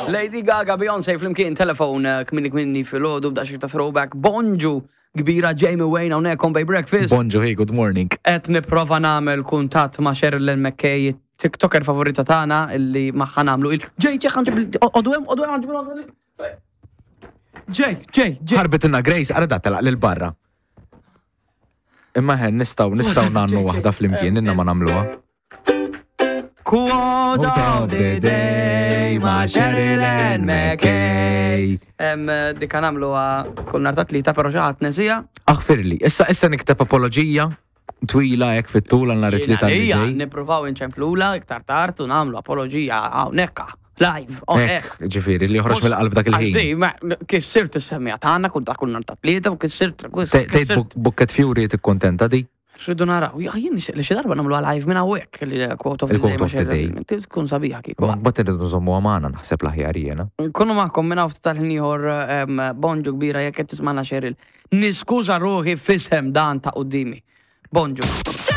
Lady Gaga, Beyoncé flimkien telefon eh, kmini kmini fil-ħodu b'daqsxejn ta' throwback. Bonġu kbira Jamie Wayne hawnhekk on Bay Breakfast. Bonġu, hey, good morning. Qed nipprova nagħmel kuntatt ma' Sheryl McKay, TikToker favorita tagħna illi magħha nagħmlu il Ġej, ġej, ħanġib għodu hemm, għodu hemm, ħanġib Ġej, ġej, ġej. Ħarbitilna Grace, ara da telaq lil barra. Imma ħen nistgħu nistgħu nagħmlu waħda flimkien, inna ma nagħmluha. Quote of the day ma' Sheryl Ann McKay. Em, Dika nagħmluha kull nhar ta' tlieta, però xi ħadd nesija. Aħfirli, issa issa nikteb apoloġija twila hekk fit-tul għal nhar it-tlieta li Ija, ġej. nippruvaw inċemplula iktar tard u nagħmlu apoloġija hawnhekk live on air. Hekk, ġifieri, li joħroġ mill-qalb dak Għax il-ħin. di, ma- Kissirt is-semmija tagħna kull ta' kull nhar ta' tlieta u kissirt Tgħid kissirt. Bucket Fury tikkuntenta di? Rridu naraw. Ja, jien nixtieq li xi darba nagħmluha live minn hawnhekk il-quote of the day. Il-quote of the day. ma' xejn. Tkun sabiħa kieku. Ma mbagħad irridu nżommuha magħna naħseb l-aħjar jiena. Nkunu magħkom minn hawn ftit tal-ħin ieħor em, bonġu kbira jekk qed tismagħna Cheryl. Niskuża ruħi fisem dan ta' qudiemi. Bonġu.